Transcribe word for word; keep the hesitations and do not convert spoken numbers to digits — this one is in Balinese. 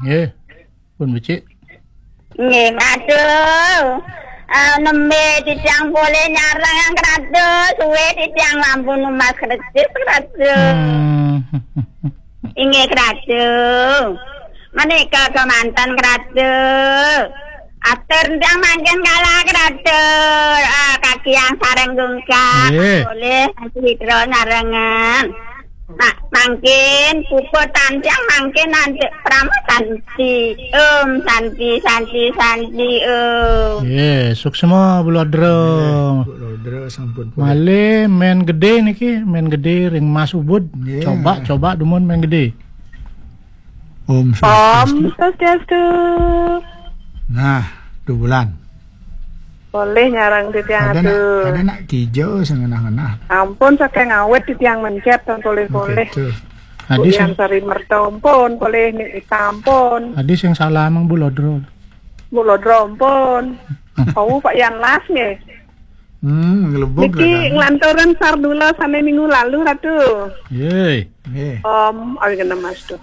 Nggih. Pun becik. Nggih, Ratu. Ah, nembe titiang polih nyarengin Ratu, suwe titiang lampu numbas kresis, Ratu. Hmm. Inggih, Ratu. Menika kemanten, Ratu. Atur titiang mangkin kalah, Ratu. Ah, kakiang sareng gungkak. Nggih. Polih, Ratu Witra nyarengin. Mak, mangkin puput titiang mangkin nanti Parama Santi. Om Santi, Santi, Santi, Om. Nggih, suksma, Bu Lodro. Nggih, Bu Lodro sampun polih. Malih Men Gede niki, Men Gede ring Mas Ubud. Nggih. Coba, coba dumun Men Gede. Om Om Swastiastu. Swastiastu. Nah, dubulan. Polih nyarengin titiang, Ratu. Kada nak, kada nak kijo sangenah-ngenah. Ampun, saking awit titiang mencet, tan polih-polih. Begitu. Adi Bu Yan sing Sari Merta ampun, polih Nik Ita ampun. Adi sing salah mang Bu Lodro. Bu Lodro ampun. Oh, Pak Yan Las nggih. Hmm, nglebug. Niki nglanturin sardula sane minggu lalu, Ratu. Yey. Nggih. Om, awi kena Mas tuh.